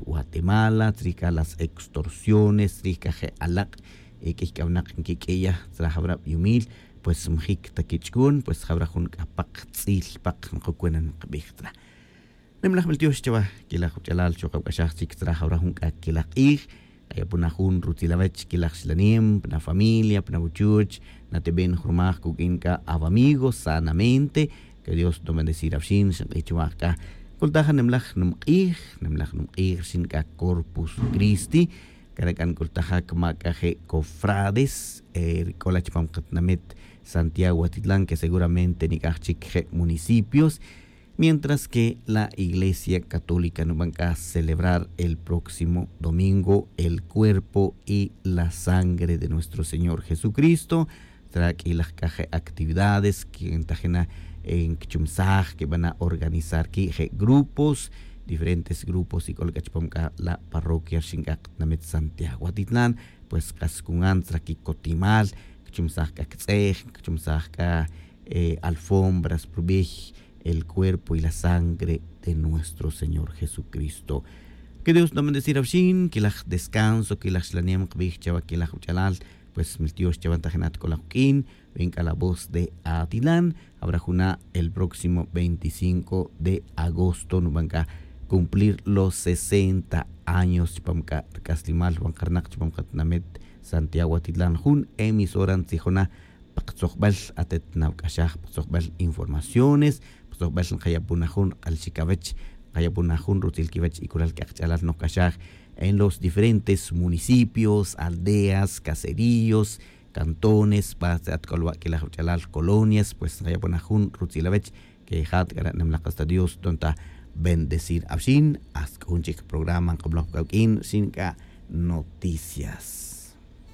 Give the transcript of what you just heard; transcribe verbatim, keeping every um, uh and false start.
Guatemala, tzrij c'a las extorsiones, tzrij c'a je' alak', e q'uiy c'a winak nquiq'uiya tzra jawra biumil, pues mjic ta quich'un, pues jawra jun c'a pak tz'il pak nkucunan nkabij tzra. Nimlaj mil tiox chawa, quilaj wach'alal chokab c'axaj chic tzra jawra jun c'a quilaj k'ij. K'ayapuna jun rutzil awech quilaj xlanem pna familia pna wuchuch, nateben jurmaj cuq'uin c'a awamigo sanamente. Que dios no bendecir awxin xink'ij chawa c'a. Cultaja nimlaj numk'ij, nimlaj numk'ij rxin c'a corpus cristi. Cara' c'a nc'ultaja cama c'a je' cofrades, ri c'o la chupam katinamit santiago atitlan que seguramente nic'aj chic je' municipios. Mientras que la iglesia católica nuban c'a celebrar el próximo domingo el cuerpo y la sangre de nuestro señor jesucristo. Tzra q'uilaj c'a je' actividades que ntajina nquichumsaj quibana organizar qui je' grupos, diferentes grupos y c'o la c'a chupam c'a la parroquia rxin c'a katinamit santiago atitlan. Pues kas cungan tzra quicotimal, cachumsaj c'a quitz'ej, cachumsaj c'a alfombras prubij el cuerpo y la sangre de nuestro señor jesucristo. Que dios no bendecir awxin quilaj descanso quilaj xlanem kbij chawa quilaj wach'alal. Pues mil tiox chawa ntajinat c'o laj uq'uin, ven c'a la voz de atilan. Habrá juna' el próximo veinticinco de agosto nuban c'a cumplir los sesenta años chupam c'a rc'aslimal wan karnak chupam katinamit santiago atitlan jun emisora ntzijona. Pa katzojbal atet nawac'axaj pa katzojbal informaciones, pa katzojbal nkayapuna jun k'alxik awech, nkayapuna jun rutzil kiwech y culal c'a kach'alal nokc'axaj en los diferentes municipios, aldeas, caseríos, cantones pa tz'at c'o la wa'quilaj wach'alal colonias. Pues nkayapuna jun rutzil awech. Que jat c'ara' nimlak hasta dios tonta bendecir awxin. Hasta c'o jun chic programa nk'amlaj pa c'awq'uin rxin c'a noticias.